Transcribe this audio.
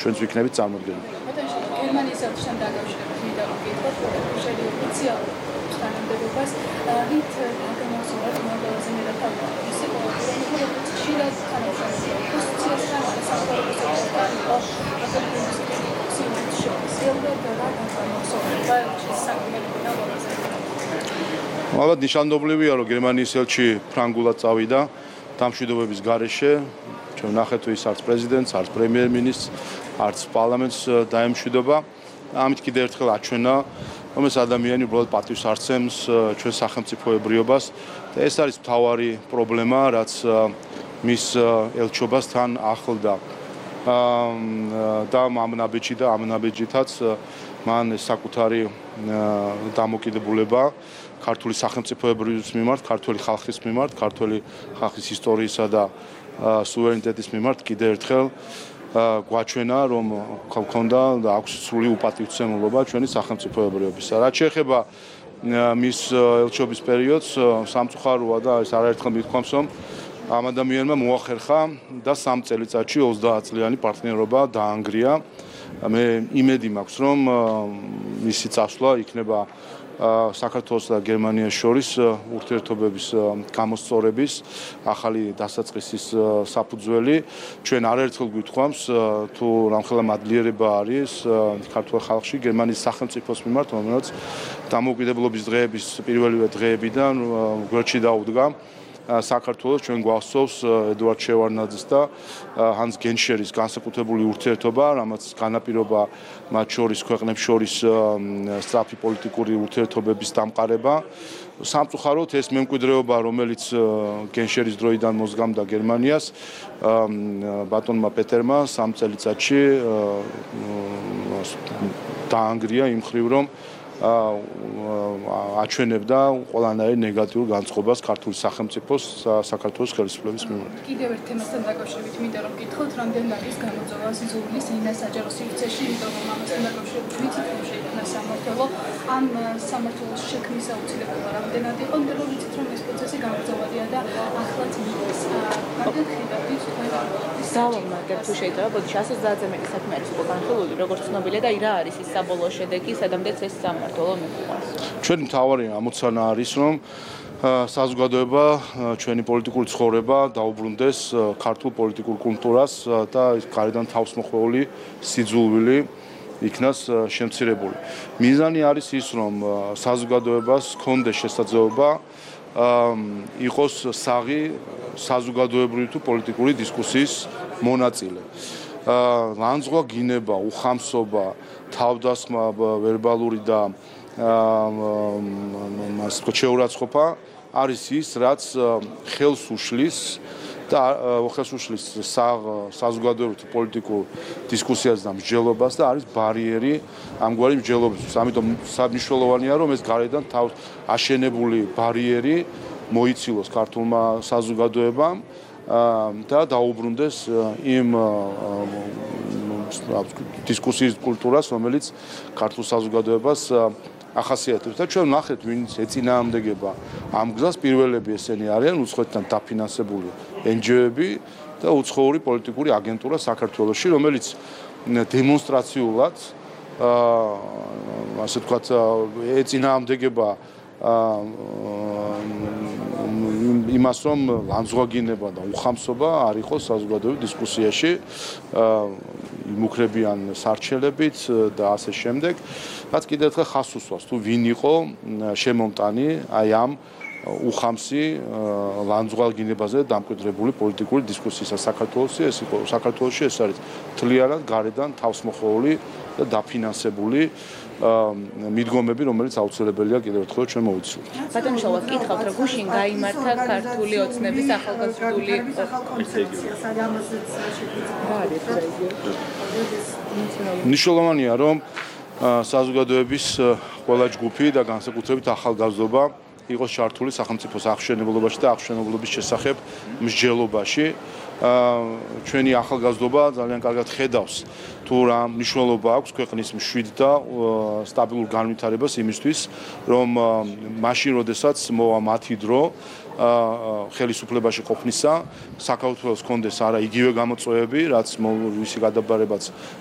ჩვენც ვიქნებით წარმოდგენილი. გერმანიის ელჩთან დაკავშირებით მინდა რომ გითხრათ, რომ შედი ოფიციალურ თანამდებობას რით გამოსულიყო მოგალზე მერათავი ისე რომ ხშირად თანამშრომლობენ პოზიციასთან სამწუხაროდ ალბათ ნიშანდობლივია, რომ გერმანიის ელჩი ფრანგულად წავიდა დამშვიდობების გარეშე. ჩვენ ვნახეთ, ის არც პრეზიდენტს, არც პრემიერ-მინისტრს, არც პარლამენტს დაემშვიდობა. ამით კიდევ ერთხელ აჩვენა, რომ ეს ადამიანი უბრალოდ პატივს არცემს ჩვენ სახელმწიფოებრიობას და ეს არის მთავარი პრობლემა, რაც მის ელჩობასთან ახლდა. და ამ ნაბიჯითაც მან საკუთარი დამოკიდებულება ქართული სახელმწიფოებრიობის მიმართ, ქართული ხალხის მიმართ, ქართული ხალხის ისტორიისა და სუვერენიტეტის მიმართ კიდევ ერთხელ გვაჩვენა, რომ ქონდა და აქვს სრული უპატივცემულობა ჩვენი სახელმწიფოებრიობისა. რაც შეეხება მის ელჩობის პერიოდს, სამწუხაროა და ეს არაერთხელ მithქვამს, რომ ამ ადამიანმა მოახერხა და 3 წელიწადში 30 წლიანი პარტნიორობა დაანგრია. მე იმედი მაქვს, რომ მისი წასვლა იქნება საქართველოს და გერმანიას შორის ურთიერთობების გამოსწორების ახალი დასაწყისის საფუძველი. ჩვენ არაერთხელ გვითხოვს, თუ რამხელა მადლიერება არის ქართულ ხალხში გერმანიის სახელმწიფოს მიმართ, რომელიც დამოუკიდებლობის დღეების პირველივე დღეებიდან გვერდში დაუდგა. საქართველოს ჩვენ გვახსოვს ედუარდ შევარდნაძის და ჰანს გენშერის განსაკუთრებული ურთიერთობა, რამაც განაპირობა მათ შორის ქვეყნებს შორის სწრაფი პოლიტიკური ურთიერთობების დამყარება. სამწუხაროდ ეს მემკვიდრეობა, რომელიც გენშერის დროიდან მოსგამდა გერმანიას, ბატონმა პეტერმა 3 წელიწადში დაანგრია იმ მხრივ, რომ აჩვენებდა ყველანაირ ნეგატიურ განწყობას ქართული სახელმწიფოს საქართველოს ხელისუფლების მიმართ. კიდევ ერთ თემასთან დაკავშირებით მინდა რომ გითხოთ, რამდენ არის გამოწვევა სიძულვილის ინა საჯარო სივრცეში, იმიტომ რომ ამასთან დაკავშირებით ვიცით, რომ შეიქმნა სამმართველო, ამ სამმართველოს შექმნის აუცილებლობა რამდენად იყო, იმიტომ რომ ვიცით, რომ ეს პროცესი გამძლეობადია და ახლაც მიდის. რამდენ ხედავთ თქვენ დავამატებ თუ შეიძლება, ბოდი 130-ზე მეტი საქმე არის უკვე განხილული, როგორც ცნობილია და რა არის ის საბოლოო შედეგი, სადამდეც ეს სამმართველო მიყვანს. ჩვენი მთავარი ამოცანა არის, რომ საზოგადოება, ჩვენი პოლიტიკური ცხოვრება დაუბრუნდეს ქართულ პოლიტიკურ კულტურას და გარედან თავსმოხვეული სიძულვილი იქნას შემცირებული. მიზანი არის ის, რომ საზოგადოებას ჰქონდეს შესაძლებლობა იყოს საღი საზოგადოებრივი თუ პოლიტიკური დისკუსიის მონაწილე. ლანძღვა გინება, უხამსობა, თავდასხმა, ვერბალური და შეურაცხყოფა არის ის, რაც ხელს უშლის საზოგადოებრივ პოლიტიკურ დისკუსიას და მსჯელობას და არის ბარიერი ამგვარი მსჯელობისთვის. ამიტომ მნიშვნელოვანია, რომ ეს გარედან თავს აშენებული ბარიერი მოიცილოს ქართულმა საზოგადოებამ და დაუბრუნდეს იმ დისკუსიის კულტურას, რომელიც ქართულ საზოგადოებას ახასიათებს. და ჩვენ ვნახეთ, ვინც ეწინააღმდეგება ამ გზას, პირველები ესენი არიან უცხოეთიდან დაფინანსებული NGO-ები და უცხოური პოლიტიკური აგენტურა საქართველოში, რომელიც დემონსტრაციულად ასე ვთქვათ, ეწინააღმდეგება იმას, რომ ლანძღვაგინება და უხამსობა არ იყოს საზოგადოებრივ დისკუსიაში, იმუქრებიან სარჩელებით და ასე შემდეგ. რაც კიდევ ერთხელ ხაზს უსვამს, თუ ვინ იყო შემომტანი აი ამ უხამსი ლანძღვაგინებაზე დამკვიდრებული პოლიტიკური დისკუსიისა საქართველოში. ეს არის მთლიანად გარედან თავსმოხვეული და დაფინანსებული მიდგომები, რომელიც აუცილებელია კიდევ ერთხელ ჩვენ მოვიცილოთ. ბატონ შოვა, გითხავთ, რომ გუშინ გაიმართა ქართული ოცნების ახალგაზრდული მნიშვნელოვანია, რომ საზოგადოების ყველა ჯგუფი და განსაკუთრებით ახალგაზრდობა იყოს ჩართული სახელმწიფოს აღშენებლობაში და აღშენებლობის შესახებ მსჯელობაში. ჩვენი ახალგაზრდობა ძალიან კარგად ხედავს, თუ რა მნიშვნელობა აქვს ქვეყნის მშვიდ და სტაბილურ განვითარებას იმისთვის, რომ მაშინ, როდესაც მოვა მათი დრო ხელისუფლებაში ყოფნისა, საქართველოს ჰქონდეს არა იგივე გამოწვევები, რაც ვისი გადაბარებაც